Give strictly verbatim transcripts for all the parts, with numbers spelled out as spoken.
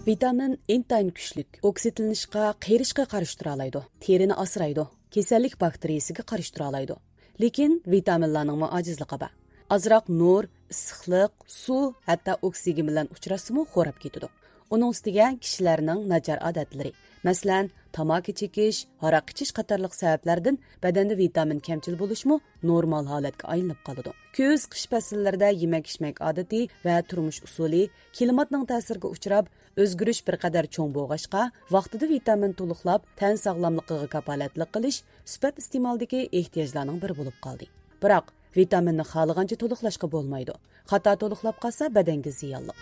ۋىتامىن ئىنتايىن كۈچلۈك، ئوكسىدلىنىشقا، قېرىشقا قارشى تۇرالايدۇ، تېرىنى ئاسرايدۇ، كېسەللىك باكتېرىيىسىگە قارشى تۇرالايدۇ. لېكىن ۋىتامىنلارنىڭمۇ ئاجىزلىقى بار. ئازراق نۇر، ئىسسىقلىق، سۇ، ھەتتا ئوكسىگېن بىلەن ئۇچراشسىمۇ خوراپ كېتىدۇ. ئۇنىڭ ئۈستىگە كىشىلەرنىڭ ناچار ئادەتلىرى، مەسىلەن، تاماكا چېكىش، ھاراق ئىچىش قاتارلىق سەۋەبلەردىن بەدەندە ۋىتامىن كەمچىل بولۇشمۇ نورمال ھالەتكە ئايلىنىپ قالىدۇ. كۈز، قىش پەسىللىرىدە يېمەك-ئىچمەك ئادىتى ۋە تۇرمۇش ئۇسۇلى كىلىماتنىڭ تەسىرىگە ئۇچراپ، ئۆزگىرىش بىر قەدەر چوڭ بولغاچقا، ۋاقتىدا ۋىتامىن تولۇقلاپ، تەن ساغلاملىقىغا كاپالەتلىك قىلىش سۈپەت ئىستېمالدىكى ئېھتىياجلارنىڭ بىرى بولۇپ قالدى. بىراق، ۋىتامىننى خالىغانچە تولۇقلاشقا بولمايدۇ. خاتا تولۇقلاپ قالسا، بەدەنگە زىيانلىق.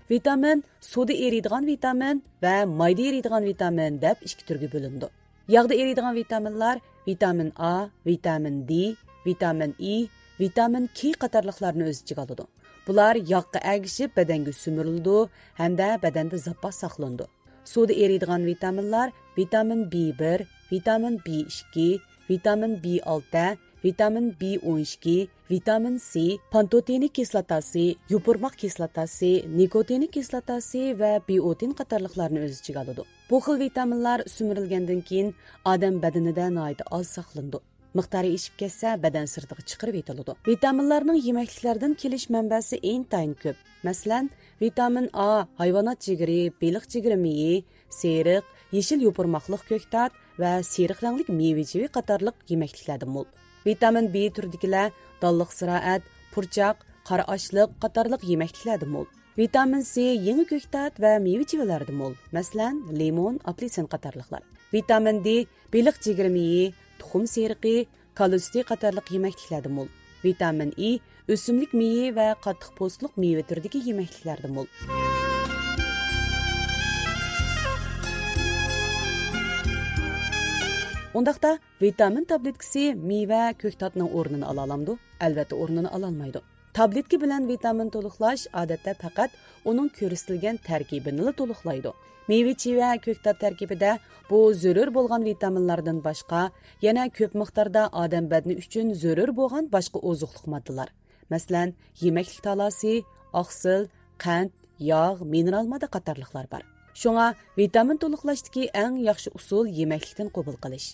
ۋىتامىن سۇدا ئېرىيدىغان ۋىتامىن ۋە مايدا ئېرىيدىغان ۋىتامىن دەپ ئىككى تۈرگە بۆلۈنىدۇ. ياغدا ئېرىيدىغان ۋىتامىنلار ۋىتامىن ئا، ۋىتامىن دې، ۋىتامىن ئې، ۋىتامىن كې قاتارلىقلارنى ئۆز ئىچىگە ئالىدۇ. بۇلار ياغقا ئەگىشىپ بەدەنگە سۈمۈرۈلىدۇ ھەمدە بەدەندە زاپاس ساقلىنىدۇ. سۇدا ئېرىيدىغان ۋىتامىنلار ۋىتامىن بې بىر، ۋىتامىن بې ئىككى، ۋىتامىن بې ئالتە، ۋىتامىن بې ئون ئىككى، ۋىتامىن سې، پانتوتېنىك كىسلاتاسى، يوپۇرماق كىسلاتاسى، نىكوتىنىك كىسلاتاسى ۋە بىئوتىن قاتارلىقلارنى ئۆز ئىچىگە ئالىدۇ. بۇ خىل ۋىتامىنلار سۈمۈرۈلگەندىن كېيىن ئادەم بەدىنىدە ناھايىتى ئاز ساقلىنىدۇ. مىقدارى ئېشىپ كەتسە، بەدەن سىرتىغا چىقىرىۋېتىلىدۇ. ۋىتامىنلارنىڭ يېمەكلىكلەردىن كېلىش مەنبەسى ئىنتايىن كۆپ. مەسىلەن، ۋىتامىن ئا ھايۋانات جىگىرى، بېلىق جىگىرى مېيى، سېرىق، يېشىل يوپۇرماقلىق كۆكتات ۋە سېرىق رەڭلىك مېۋە-چېۋە قاتارلىق يېمەكلىكلەردە مول. ۋىتامىن بې تۈرىدىكىلەر دانلىق زىرائەت، پۇرچاق، قارا ئاشلىق قاتارلىق يېمەكلىكلەردە مول. ۋىتامىن سې يېڭى كۆكتات ۋە مېۋە-چېۋىلەردە مول، مەسىلەن، لىمون، ئاپېلسىن قاتارلىقلار. ۋىتامىن دې بېلىق جىگىرى مېيى، تۇخۇم سېرىقى، كالا سۈتى قاتارلىق يېمەكلىكلەردە مول. ۋىتامىن ئې ئۆسۈملۈك مېيى ۋە قاتتىق پوستلۇق مېۋە تۈرىدىكى يېمەكلىكلەردە مول. ئۇنداقتا، ۋىتامىن تابلېتكىسى مېۋە، كۆكتاتنىڭ ئورنىنى ئالالامدۇ؟ ئەلۋەتتە، ئورنىنى ئالالمايدۇ. تابلېتكا بىلەن ۋىتامىن تولۇقلاش، ئادەتتە، پەقەت ئۇنىڭ كۆرسىتىلگەن تەركىبىنىلا تولۇقلايدۇ. مېۋە-چېۋە، كۆكتات تەركىبىدە بۇ زۆرۈر بولغان ۋىتامىنلاردىن باشقا، يەنە كۆپ مىقداردا ئادەم بەدىنى ئۈچۈن زۆرۈر بولغان باشقا ئوزۇقلۇق ماددىلار، مەسىلەن، يېمەكلىك تالاسى، ئاقسىل، قەنت، ياغ، مىنېرال ماددا قاتارلىقلار بار. شۇڭا ۋىتامىن تولۇقلاشتىكى ئەڭ ياخشى ئۇسۇل يېمەكلىكتىن قوبۇل قىلىش.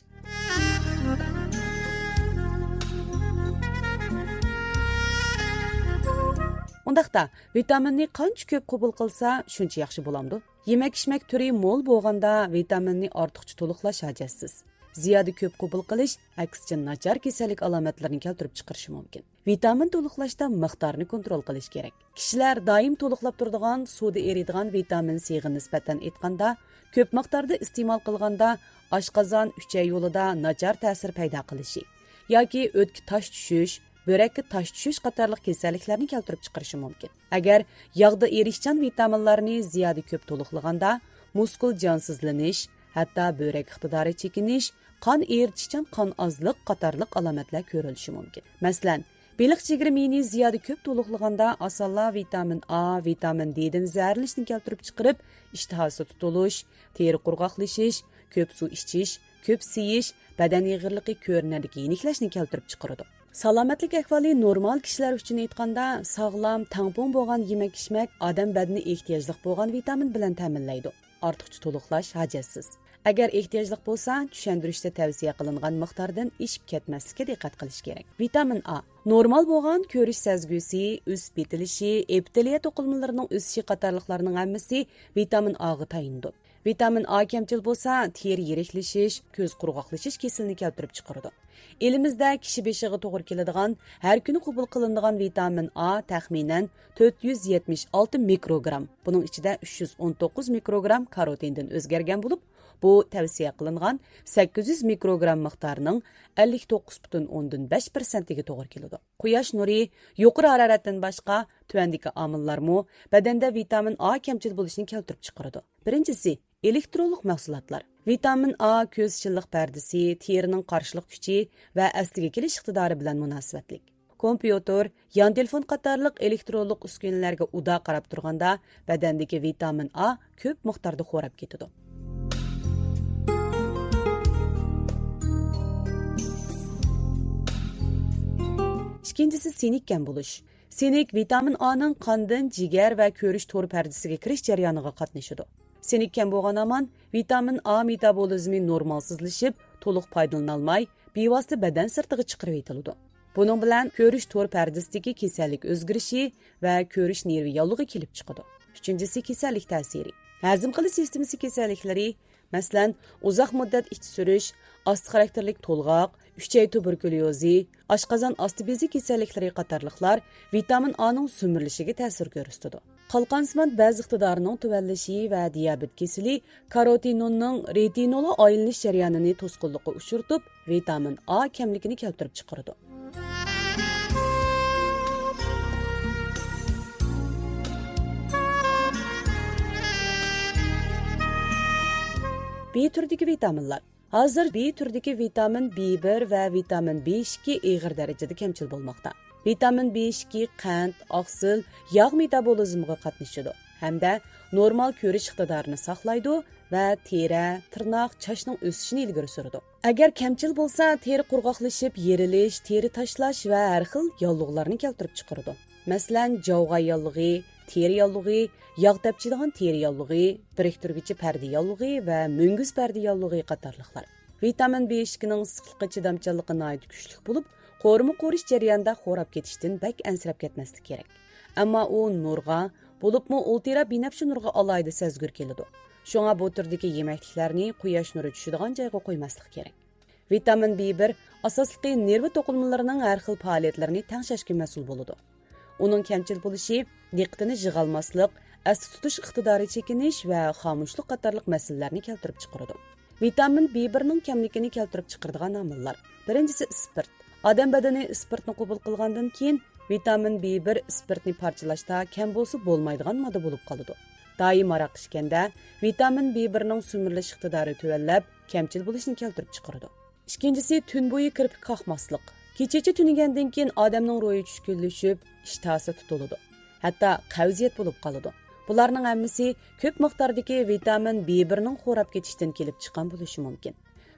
ئۇنداقتا، ۋىتامىننى قانچە كۆپ قوبۇل قىلسا، شۇنچە ياخشى بولامدۇ؟ يېمەك-ئىچمەك تۈرى مول بولغاندا، ۋىتامىننى ئارتۇقچە تولۇقلاش ھاجەتسىز. زىيادە كۆپ قوبۇل قىلىش، ئەكسىچە، ناچار كېسەللىك ئالامەتلىرىنى كەلتۈرۈپ چىقىرىشى مۇمكىن. ۋىتامىن تولۇقلاشتا مىقدارنى كونترول قىلىش كېرەك. كىشىلەر دائىم تولۇقلاپ تۇرىدىغان سۇدا ئېرىيدىغان ۋىتامىن سىغا نىسبەتەن ئېيتقاندا، كۆپ مىقداردا ئىستېمال قىلغاندا، ئاشقازان، ئۈچەي يولىدا ناچار تەسىر پەيدا قىلىشى ياكى ئۆتكە تاش چۈشۈش، بۆرەككە تاش چۈشۈش قاتارلىق كېسەللىكلەرنى كەلتۈرۈپ چىقىرىشى مۇمكىن. ئەگەر ياغدا ئېرىشچان ۋىتامىنلارنى زىيادە كۆپ تولۇقلىغاندا، مۇسكۇل جانسىزلىنىش، ھەتتا بۆرەك ئىقتىدارى چېكىنىش، قان ئېرىتىشچان قان ئازلىق قاتارلىق ئالامەتلەر كۆرۈلۈشى مۇمكىن. مەسىلەن، بېلىق جىگىرى مېيىنى زىيادە كۆپ تولۇقلىغاندا، ئاسانلا ۋىتامىن ئا، ۋىتامىن دېدىن زەھەرلىنىشنى كەلتۈرۈپ چىقىرىپ، ئىشتىھاسى تۇتۇلۇش، تېرە قۇرغاقلىشىش، كۆپ سۇ ئىچىش، كۆپ سىيىش، بەدەن ئېغىرلىقى، كۆرۈنەرلىك يېنىكلەشنى كەلتۈرۈپ چىقىرىدۇ. سالامەتلىك ئەھۋالى نورمال كىشىلەر ئۈچۈن ئېيتقاندا، ساغلام، تەڭپۇڭ بولغان يېمەك-ئىچمەك ئادەم بەدىنى ئېھتىياجلىق بولغان ۋىتامىن بىلەن تەمىنلەيدۇ. ئارتۇقچە تولۇقلاش ھاجەتسىز. ئەگەر ئېھتىياجلىق بولسا، چۈشەندۈرۈشتە تەۋسىيە قىلىنغان مىقداردىن ئېشىپ كەتمەسلىككە دىققەت قىلىش كېرەك. ۋىتامىن ئا. نورمال بولغان كۆرۈش سەزگۈسى، ئۈس بېتىلىشى، ئېپىتېلىيە توقۇلمىلىرىنىڭ ئۆسۈشى قاتارلىقلارنىڭ ھەممىسى ۋىتامىن ئاغا تايىنىدۇ. ۋىتامىن ئا كەمچىل بولسا، تېرە يىرىكلىشىش، كۆز قۇرغاقلىشىش كېسىلىنى كەلتۈرۈپ چىقىرىدۇ. ئېلىمىزدە كىشى بېشىغا توغرا كېلىدىغان، ھەر كۈنى قوبۇل قىلىنىدىغان ۋىتامىن ئا تەخمىنەن تۆت يۈز يەتمىش ئالتە مىكروگرام، بۇنىڭ ئىچىدە ئۈچ يۈز ئون توققۇز مىكروگرام كاروتىندىن ئۆزگەرگەن بولۇپ، بۇ تەۋسىيە قىلىنغان سەككىز يۈز مىكروگرام مىقدارىنىڭ ئەللىك توققۇز پۈتۈن ئوندىن بەش پىرسەنتىگە توغرا كېلىدۇ. قۇياش نۇرى، يۇقىرى ھارارەتتىن باشقا، تۆۋەندىكى ئامىللارمۇ بەدەندە ۋىتامىن ئا كەمچىل بولۇشنى كەلتۈرۈپ چىقىرىدۇ. بىرىنچىسى، ئېلېكترونلۇق مەھسۇلاتلار. ۋىتامىن ئا كۆز شىللىق پەردىسى، تېرىنىڭ قارشىلىق كۈچى ۋە ئەسلىگە كېلىش ئىقتىدارى بىلەن مۇناسىۋەتلىك. كومپيۇتېر، يان تېلېفون قاتارلىق ئېلېكترونلۇق ئۈسكۈنىلەرگە ئۇدا قاراپ تۇرغاندا، بەدەندىكى ۋىتامىن ئا كۆپ مىقداردا خوراپ كېتىدۇ. ئىككىنچىسى سىنك كەم بولۇش. سىنك ۋىتامىن ئانىڭ قاندىن جىگەر ۋە كۆرۈش تور پەردىسىگە كىرىش جەريانىغا قاتنىشىدۇ. سىنك كەم بولغان ھامان ۋىتامىن ئا مېتابولىزمى نورمالسىزلىشىپ، تولۇق پايدىلىنالماي، بىۋاسىتە بەدەن سىرتىغا چىقىرىۋېتىلىدۇ. بۇنىڭ بىلەن كۆرۈش تور پەردىسىدىكى كېسەللىك ئۆزگىرىشى ۋە كۆرۈش نېرۋا ياللۇغى كېلىپ چىقىدۇ. ئۈچىنچىسى كېسەللىك تەسىرى. ھەزىم قىلىش سىستېمىسى كېسەللىكلىرى، مەسىلەن، ئۇزاق مۇددەت ئىچى سۈرۈش، ئاستا خاراكتېرلىك تولغاق، ئۈچەي تۇبېركۇليوزى، ئاشقازان ئاستى بېزى كېسەللىكلىرى قاتارلىقلار ۋىتامىن ئانىڭ سۈمۈرۈلۈشىگە تەسىر كۆرسىتىدۇ. قالقانسىمان بەز ئىقتىدارىنىڭ تۆۋەنلىشى ۋە دىيابېت كېسىلى كاروتىنوننىڭ رېتىنولغا ئايلىنىش جەريانىنى توسقۇنلۇققا ئۇچرىتىپ، ۋىتامىن ئا كەملىكىنى كەلتۈرۈپ چىقىرىدۇ. بى تۈرىدىكى ۋىتامىنلار. ھازىر بى تۈرىدىكى ۋىتامىن بى بىر ۋە ۋىتامىن بى ئىككى ئېغىر دەرىجىدە كەمچىل بولماقتا. ۋىتامىن بى ئىككى قەنت، ئاقسىل، ياغ مېتابولىزمىغا قاتنىشىدۇ ھەمدە نورمال كۆرۈش ئىقتىدارىنى ساقلايدۇ ۋە تېرە، تىرناق، چاچنىڭ ئۆسۈشىنى ئىلگىرى سۈرىدۇ. ئەگەر كەمچىل بولسا، تېرە قۇرغاقلىشىپ، يېرىلىش، تېرە تاشلاش ۋە ھەر خىل ياللۇغلارنى كەلتۈرۈپ چىقىرىدۇ. مەسىلەن، جاۋغا ياللۇغى، تېرە ياللۇغى، ياغ تەپچىيدىغان تېرە ياللۇغى، بىرىكتۈرگۈچى پەردە ياللۇغى ۋە مۈڭگۈز پەردە ياللۇغى قاتارلىقلار. ۋىتامىن بى ئىككىنىڭ ئىسسىقلىققا چىدامچانلىقى ناھايىتى كۈچلۈك بولۇپ، قورۇما قورۇش جەريانىدا خوراپ كېتىشتىن بەك ئەنسىرەپ كەتمەسلىك كېرەك. ئەمما ئۇ نۇرغا، بولۇپمۇ ئۇلترا بىنەپشە نۇرغا ئالاھىدە سەزگۈر كېلىدۇ. شۇڭا بۇ تۈردىكى يېمەكلىكلەرنى قۇياش نۇرى چۈشىدىغان جايغا قويماسلىق كېرەك. ۋىتامىن بى بىر ئاساسلىقى نېرۋا توقۇلمىلىرىنىڭ ھەر خىل پائالىيەتلىرىنى تەڭشەشكە مەسئۇل بولىدۇ. ئۇنىڭ كەمچىل بولۇشى دىققىتىنى يىغالماسلىق، ئەستە تۇتۇش ئىقتىدارى چېكىنىش ۋە خامۇشلۇق قاتارلىق مەسىلىلەرنى كەلتۈرۈپ چىقىرىدۇ. ۋىتامىن بى بىرنىڭ كەملىكىنى كەلتۈرۈپ چىقىرىدىغان ئامىللار. بىرىنچىسى ئىسپىرت. ئادەم بەدىنى ئىسپىرتنى قوبۇل قىلغاندىن كېيىن، ۋىتامىن بى بىر ئىسپىرتنى پارچىلاشتا كەم بولسا بولمايدىغان ماددا بولۇپ قالىدۇ. دائىم ھاراق ئىچكەندە، ۋىتامىن بى بىرنىڭ سۈمۈرۈلۈش ئىقتىدارى تۆۋەنلەپ، كەمچىل بولۇشنى كەلتۈرۈپ چىقىرىدۇ. ئىككىنچىسى، تۈن بويى كىرپىك قاقماسلىق. كېچىچە تۈنىگەندىن كېيىن ئادەمنىڭ روھى چۈشكۈنلىشىپ، ئىشتىھاسى تۇتۇلىدۇ. ھەتتا قەۋزىيەت بولۇپ قالىدۇ. بۇلارنىڭ ھەممىسى كۆپ مىقداردىكى ۋىتامىن بى بىرنىڭ خوراپ كېتىشتىن كېلىپ چىققان بولۇشى مۇمكىن.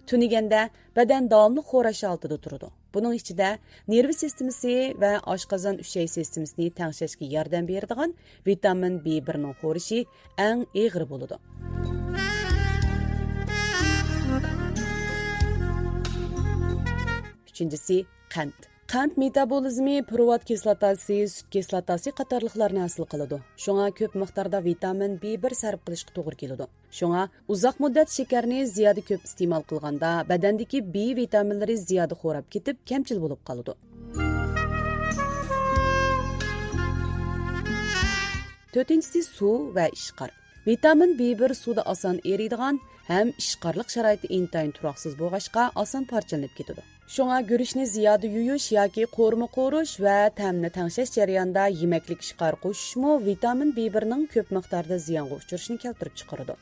تۈنىگەندە بەدەن داۋاملىق خوراش ھالىتىدە تۇرىدۇ. بۇنىڭ ئىچىدە نېرۋا سىستېمىسى ۋە ئاشقازان ئۈچەي سىستېمىسىنى تەڭشەشكە ياردەم بېرىدىغان ۋىتامىن بى بىرنىڭ خورىشى ئەڭ ئېغىر بولىدۇ. ئۈچىنچىسى، قەنت. قەنت مېتابولىزمى پروۋات كىسلاتاسى، سۈت كىسلاتاسى قاتارلىقلارنى ھاسىل قىلىدۇ. شۇڭا كۆپ مىقداردا ۋىتامىن بى بىر سەرپ قىلىشقا توغرا كېلىدۇ. شۇڭا ئۇزاق مۇددەت شېكەرنى زىيادە كۆپ ئىستېمال قىلغاندا، بەدەندىكى بى ۋىتامىنلىرى زىيادە خوراپ كېتىپ، كەمچىل بولۇپ قالىدۇ. تۆتىنچىسى، سۇ ۋە ئىشقار. ۋىتامىن بى بىر سۇدا ئاسان ئېرىيدىغان ھەم ئىشقارلىق شارائىتى ئىنتايىن تۇراقسىز بولغاچقا، ئاسان پارچىلىنىپ كېتىدۇ. شۇڭا گۈرۈچنى زىيادە يۇيۇش ياكى قورۇما قورۇش ۋە تەمنى تەڭشەش جەريانىدا يېمەكلىك ئىشقار قوشۇشمۇ ۋىتامىن بى بىرنىڭ كۆپ مىقداردا زىيانغا ئۇچرىشىنى كەلتۈرۈپ چىقىرىدۇ.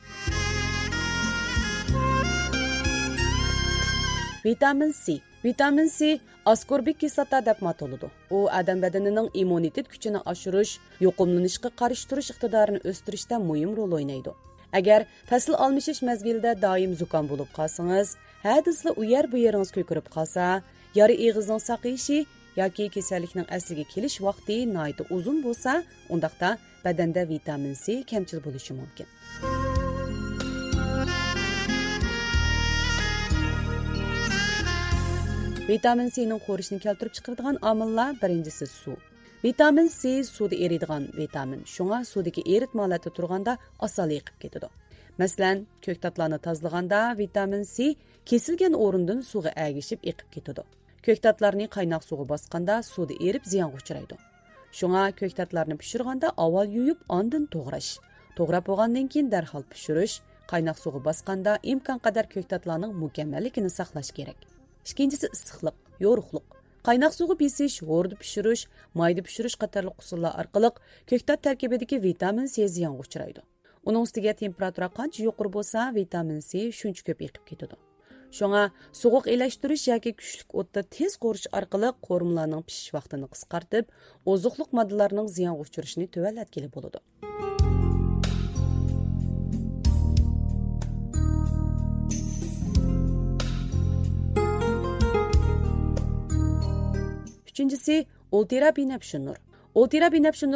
ۋىتامىن سى. ۋىتامىن سى ئاسكوربىك كىسلاتا دەپمۇ ئاتىلىدۇ. ئۇ ئادەم بەدىنىنىڭ ئىممۇنىتېت كۈچىنى ئاشۇرۇش، يۇقۇملىنىشقا قارشى تۇرۇش ئىقتىدارىنى ئۆستۈرۈشتە مۇھىم رول ئوينايدۇ. ئەگەر پەسىل ئالمىشىش مەزگىلىدە دائىم زۇكام بولۇپ قالسىڭىز، ھە دېسىلا ئۇ يەر بۇ يېرىڭىز كۆكىرىپ قالسا، يارا ئېغىزنىڭ ساقىيىشى ياكى كېسەللىكنىڭ ئەسلىگە كېلىش ۋاقتى ناھايىتى ئۇزۇن بولسا، ئۇنداقتا بەدەندە ۋىتامىن سى كەمچىل بولۇشى مۇمكىن. ۋىتامىن سىنىڭ خورىشىنى كەلتۈرۈپ چىقىرىدىغان ئامىللار، بىرىنچىسى سۇ. ۋىتامىن سى سۇدا ئېرىيدىغان ۋىتامىن، شۇڭا سۇدىكى ئېرىتمە ھالەتتە تۇرغاندا ئاسانلا ئېقىپ كېتىدۇ. مەسىلەن، كۆكتاتلارنى تازىلىغاندا ۋىتامىن سى كېسىلگەن ئورۇندىن سۇغا ئەگىشىپ ئېقىپ كېتىدۇ. كۆكتاتلارنى قايناق سۇغا باسقاندا سۇدا ئېرىپ زىيانغا ئۇچرايدۇ. شۇڭا كۆكتاتلارنى پىشۇرغاندا ئاۋۋال يۇيۇپ، ئاندىن توغراش. توغراپ بولغاندىن كېيىن دەرھال پىشۇرۇش، قايناق سۇغا باسقاندا ئىمكانقەدەر كۆكتاتلارنىڭ مۇكەممەللىكىنى ساقلاش كېرەك. ئىككىنچىسى ئىسسىقلىق، يورۇقلۇق. قايناق سۇغا بېسىش، ھوردا پىشۇرۇش، مايدا پىشۇرۇش قاتارلىق ئۇسۇللار ئارقىلىق كۆكتات تەركىبىدىكى ۋىتامىن سى زىيانغا ئۇچرايدۇ. ئۇنىڭ ئۈستىگە تېمپېراتۇرا قانچە يۇقىرى بولسا، ۋىتامىن سى شۇنچە كۆپ ئېقىپ كېتىدۇ. شۇڭا سوغۇق ئېلەشتۈرۈش ياكى كۈچلۈك ئوتتا تېز قورۇش ئارقىلىق قورۇمىلارنىڭ پىشىش ۋاقتىنى قىسقارتىپ، ئوزۇقلۇق ماددىلارنىڭ زىيانغا ئۇچرىشىنى تۆۋەنلەتكىلى بولىدۇ. ئۈچىنچىسى، ئولتىرا بىنەپشە نۇر. ئولتىرا بىنەپشە نۇر